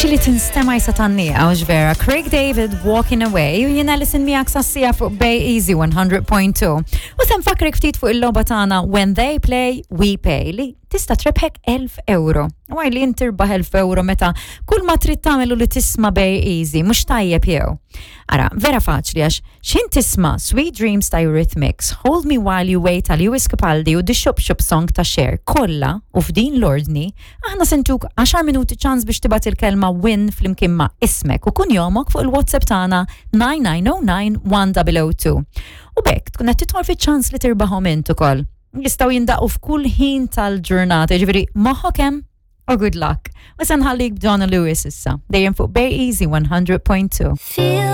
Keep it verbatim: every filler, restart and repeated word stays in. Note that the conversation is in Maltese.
Xili tinstema' jisa tannija, għax vera. Craig David, "Walking Away", u jiena Alison miegħek sas-siegħa fuq Bay Easy one hundred point two. U se nfakkrek ftit fuq il-logħba tagħna When They Play, We Pay, li tista' trebħek elf euro. U għaj li intirbaħ elf euro meta kull ma trid tagħmlu li tisma' Bay Easy, mhux tajjeb jew? Ara, vera faċli, għax xin tisma' "Sweet Dreams" ta' Eurythmics, "Hold Me While You Wait" ta' Lewis Capaldi u "The Shop Shop Song" ta' Cher kollha u f'din l-ordni, aħna se ntuk għaxar minuti ċans biex tibgħat il-kelma "win" flimkien ma' ismek u kunjomok fuq il-WhatsApp tagħna nine nine zero nine one zero zero two. U b'hekk tkun qed tidħol fiċ-ċans li tirbaħhom int ukoll. Jistgħu jindaqqu f'kull ħin tal-ġurnata, ġifieri moħħok hemm u good luck. U se nħallik b'Donna Lewis issa, dejjem fuq Bay Easy one hundred point two. Feel